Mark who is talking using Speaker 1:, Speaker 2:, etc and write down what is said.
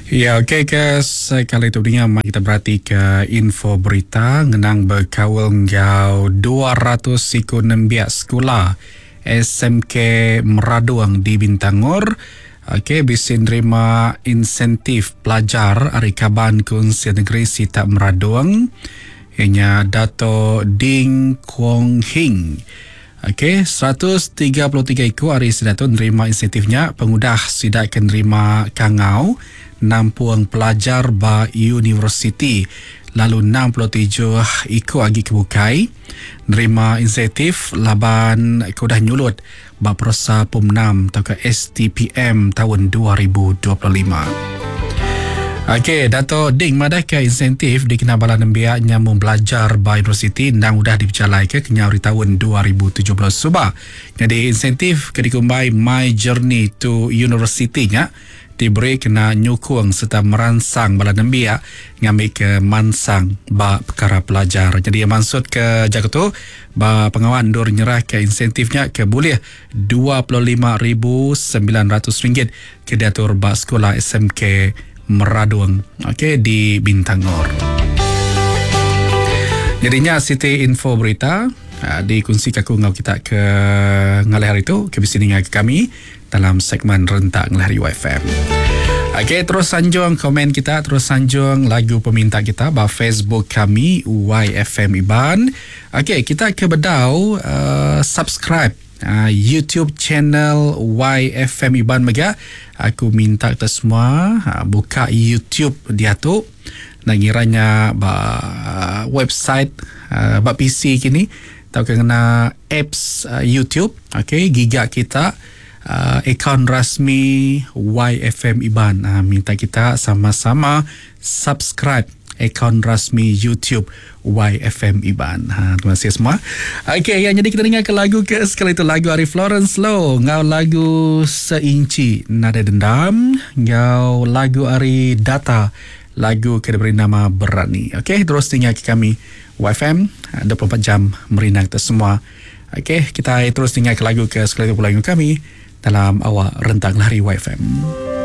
Speaker 1: Ya ok ke sekali tu dinga mai kita berati ke info berita ngenang bekaul enggau 200 siku nembiak sekula SMK Meradong di Bintangor ok bisi nerima insentif pelajar ari kaban Kunsil Negeri Sitak Meradong iya nya Dato Ding Kuong Hing. Ok, 133 iku ari sida tu nerima insentif nya pengudah sida ke nerima kangau nampung pelajar ba universiti lalu 67 iku agi ke bukai nerima insentif laban ke udah nyulut ba peresa Pom Enam tauka STPM taun 2025. Okey, Dato Ding madahka insentif dikena bala nembiak nyambung belajar ba universiti endang udah dipejalaika kenyau ari taun 2017 suba. Nyadi insentif ke dikumbai My Journey to University nya diberi kena nyukung sereta meransang bala nembiak ngambika mansang ba pekara pelajar. Nyadi iya mansutka jaku tu ba pengawa endur nyerahka insentif nya ke bulih RM25,900 ke diatur ba sekula SMK Meradong okay, di Bintangor. Jadi nya siti info berita ah, dikongsi aku enggau kita ke ngalih hari tu ke bisi ninga ke kami dalam segmen Rentak Ngelih Hari UFM. Okey, terus sanjung komen kita, terus sanjung lagu peminta kita ba Facebook kami YFM Iban. Okey, kita ke bedau uh, subscribe uh, YouTube channel YFM Iban mega. Aku minta kita semua uh, buka YouTube diatu. Nak ngiranya ba uh, website uh, ba PC kini tauka ngena apps uh, YouTube okey giga kita uh, akaun rasmi YFM Iban uh, minta kita sama-sama subscribe akaun rasmi YouTube YFM Iban. Ha, terima kasih semua. Okey, ya, jadi kita dengar ke lagu ke sekali itu lagu ari Florence Low ngau lagu Seinci Nada Dendam ngau lagu ari Data lagu ke diberi nama Berani. Okey, terus tinggal ke kami YFM 24 jam merindang kita semua. Okey, kita terus tinggal ke lagu ke sekali tu pula kami dalam awak rentang lari YFM.